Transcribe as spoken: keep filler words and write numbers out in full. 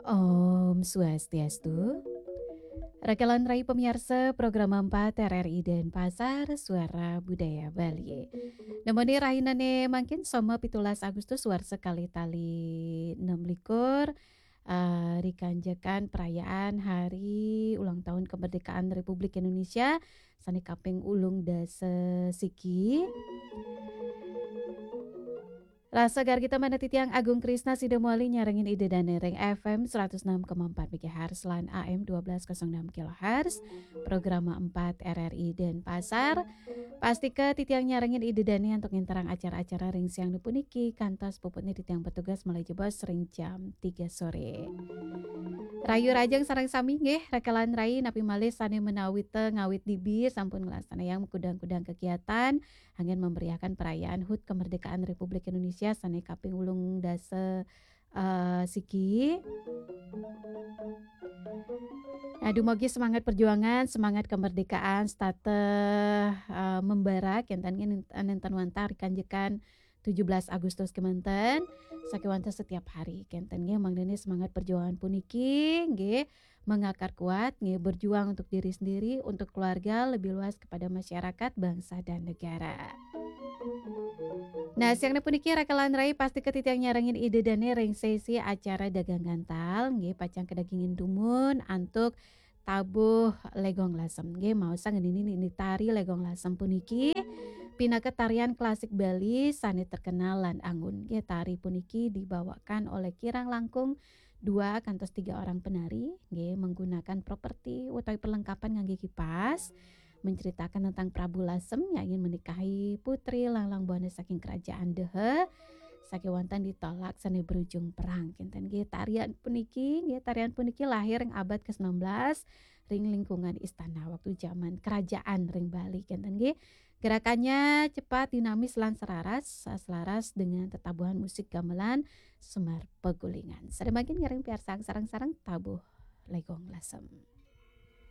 Om Swastiastu. Rakelan rai pamiarsa program empat R R I Denpasar, Suara Budaya Bali. Nemoni rahinane mangkin Soma pitulas Agustus warsa kalih tali enam likur, eh, rikanjekan perayaan hari ulang tahun kemerdekaan Republik Indonesia sane kaping ulung dasa siki. Rasa gargita manah titiang Agung Krisna sida mawali nyarengin Ida Dane ring F M seratus enam koma empat megahertz lan A M dua belas kosong enam kilohertz, programa empat R R I Denpasar. Pastika titiang nyarengin Ida Dane antuk nginterang acara-acara ring siang puniki, kantos puputne titiang petugas malih jebos ring jam tiga sore. Rayu rajang sareng sami nggih, rakelan rai napi malih sane menawita ngawit dibi sampun nglaksana yang kudang-kudang kegiatan anggen memeriahkan perayaan hut kemerdekaan Republik Indonesia sane kaping ulung dasa, eh, siki. Nah, dumugi semangat perjuangan, semangat kemerdekaan setata, eh, membara kenten nggih ninten wantah rikanjekan tujuh belas Agustus kemanten, sakewanten setiap hari kenten nggih, mangdane semangat perjuangan puniki nggih mengakar kuat, nggih, berjuang untuk diri sendiri, untuk keluarga, lebih luas kepada masyarakat, bangsa, dan negara. Nah, siang puniki rakelan rai pastika titiang nyarengin Ida Dane ring sesi acara dagang gantal, nggih, pacang kadagingin dumun antuk tabuh Legong Lasem, nggih, maosang ngenini nini tari Legong Lasem puniki pinaka tarian klasik Bali sane terkenal lan anggun, nggih. Tari puniki dibawakan oleh kirang langkung dua kantos tiga orang penari, nggih, menggunakan properti utawi perlengkapan ngangge kipas, menceritakan tentang Prabu Lasem yang ingin menikahi Putri Langlang Buana saking kerajaan Dehe, sakewanten ditolak sane berujung perang. Kenten nggih, tarian puniki, nggih, tarian puniki lahir ring abad kesembilan belas ring lingkungan istana waktu zaman kerajaan ring Bali. Kenten nggih, gerakannya cepat, dinamis, lan selaras, selaras dengan tetabuhan musik gamelan Semar Pegulingan. Sida mangkin ngiring piarsang sareng-sareng tabuh Legong Lasem.